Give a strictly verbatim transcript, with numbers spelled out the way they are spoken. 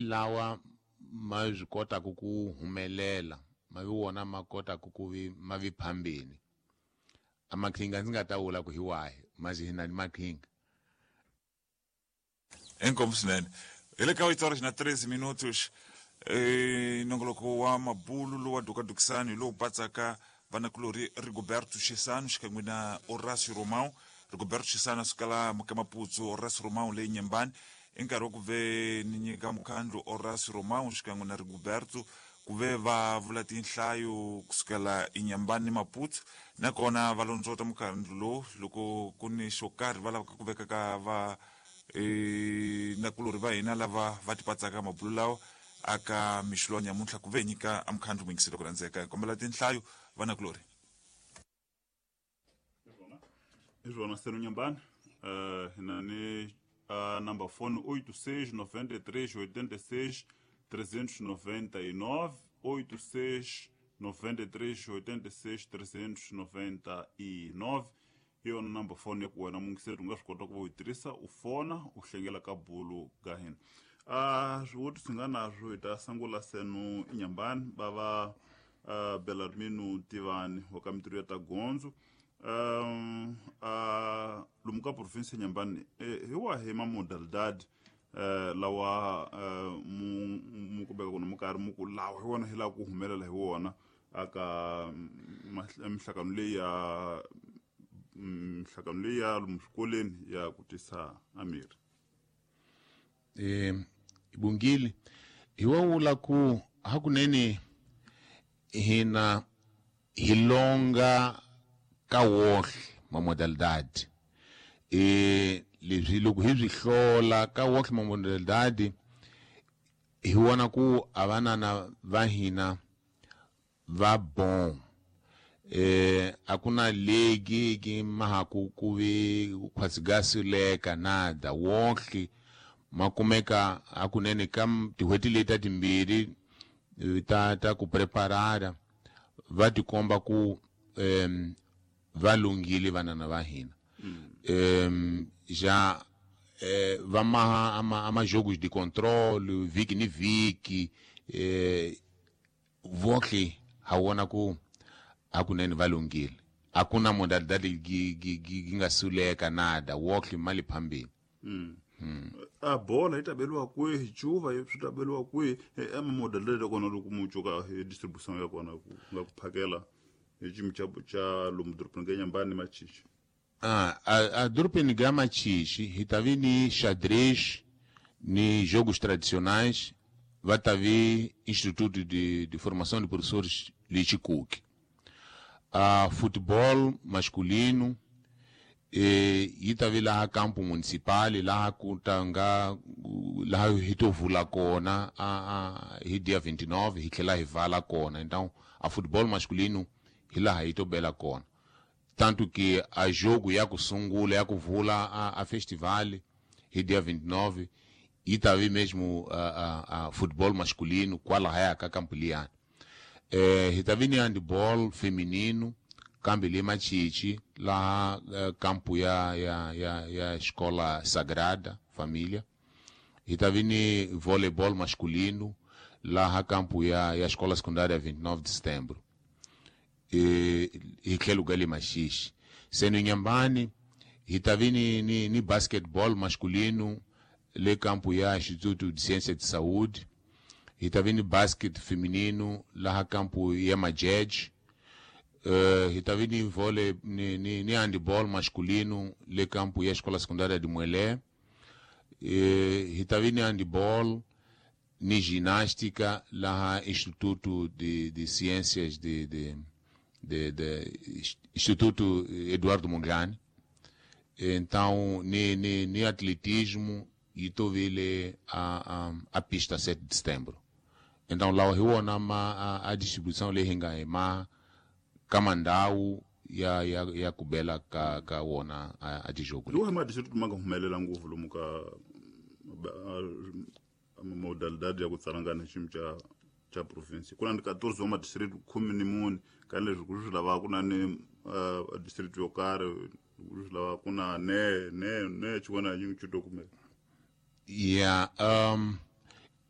lawa ma swi kotaka ku humelela ma vi wona ma kotaka ku vi ma vi phambeni. A maqhinga ndzi nga ta vula ku hi wahi, mas hi na ni maqhinga. Inkomu swinene. Hi le ka oito horas na treze minutos. Eh, nongoloko wa mabulu lowa dukadukisani lowu patsaka vanakulori Rigoberto Chissano xikan'we na Horácio Romão. Rigoberto Chissano a suka la Mukamaputsu, Horácio Romão le Nyembani. I nkarhi wa ku ve ni nyika mukhandlu Horácio Romão xikan'we na Rigoberto ku ve va vula tinhlayo kusukela Inhambane ni Maputo, nakona va londzota mukhandlu lowu loko ku ni xo karhi va lavaka ku veka ka va e, nakulori va hina lava va tipatsaka mabulu lawa aka mixo lowa nyamuntlha ku ve nyika a mukhandlu muyingiselo ku rhandzeka. Hi kombela tinhlayo vanakulori. Hi swona seno Nyambani, uh, hi na ni uh, number phone oito seis noventa e três oitenta e seis trezentos e noventa e nove, oito seis noventa e três oitenta e seis trezentos e noventa e nove. Hi yona number phone ya ku wena muyingiseri u nga swi kota ku va u yi tirhisa u fona u hlengela ka bulu ka hina. Uh, swivutiso hi nga naswo hi ta sungula seno Inhambane va va uh, Belarmino Tivani wa ka mintirho ya ta gondzo. Um, uh, lomu ka province ya Inhambane eh, hi wahi ma modalidade uh, lawa uh, mu mu kumeka ku mu karhi mu ku lawa hi wona hi lava ku humelela hi wona aka mihlangano leyi ya mihlangano leyi ya lomu swikolweni ya ku tisa amiri? Eh, Bungile, hi wa vula ku hakunene hina hi longa ka wohle ma modalidade. Eh, leswi loko hi swi hlola ka wohle ma modalidade hi vona ku a vanana va hina va bon. Eh, a ku na legi ki mahaku ku vi khwasigasileka nada wohle ma kumeka hakunene ka tin'hweti leti ta timbirhi ta ta ku preparara va tikomba ku um, va lunghile vanana va hina. Um, já eh, va maha ama, ama jogos de controle viki ni viki, eh, vohle ha vona ku hakunene va lunghile. A ku na modalidade gi gi gi nga suleka nada, wohle mali phambili. Mm. Mm. A bola yi ta beliwa kwihi, cuva swi ta beliwa kwihi, ama modalidade ya kona loko mu cuka hi distribution ya kona ku nga ku phakela hi xiyimo xa xa lomu dorobeni ka Inhambane ni Machichi? Ah, a, a dorobeni ka Machichi hi ta vi ni xadrez ni jogos tradicionais, va ta vi Instituto de, de Formação de Professores le Chicuque. A futebol masculino e yi ta vi laha campo municipal laha ku ta nga laha hi to vula kona a, a hi dia vinte e nove hi tlhela hi vala kona. Então a futebol masculino hi laha hi to bela kona, tanto que a jogo ya ku sungula ya ku vula a, a festival hi dia vinte e nove yi ta vi mesmo a, a, a futebol masculino kwalahaya ka campo liyani. Eh, hi ta vi ni handball feminino kambe le Machichi laha uh, campo ya ya ya ya Escola Sagrada Família. Hi ta vi ni voleibol masculino laha campo ya ya Escola Secundária vinte e nove de Setembro. E hi tlhelo ka le Machichi. Seno Inhambane hi ta vi ni, ni, ni basketball masculino le campo ya Instituto de Ciência de Saúde. Hi ta vi ni basket feminino laha campo ya Majej. Uh, hi ta vi ni vôlei ni, ni, ni handball masculino le campo ya Escola Secundária de Muelé. Uh, hi ta vi ni handball ni ginástica laha Instituto de, de Ciências de, de, de, de Instituto Eduardo Mondlane. Então ni, ni, ni atletismo e to vile a, a, a pista sete de setembro. Então lá hi wona ma a, a distribuição leyi hi nga hi ma ka mandhawu ya ya ya ku bela ka ka wona a, a tijogo. Hi wahi ma district ma nga humelela ngopfu lomu ka modalidade ya ku tsalangana xiyimo xa xa province? Ku na ni quatorze wa ma-district khume ni mune ka leswi ku swi lavaka ku na ni uh, district yo karhi ku swi lavaka ku na ne ne ne xin'wana na xin'we xi to kumeka. Yeah, um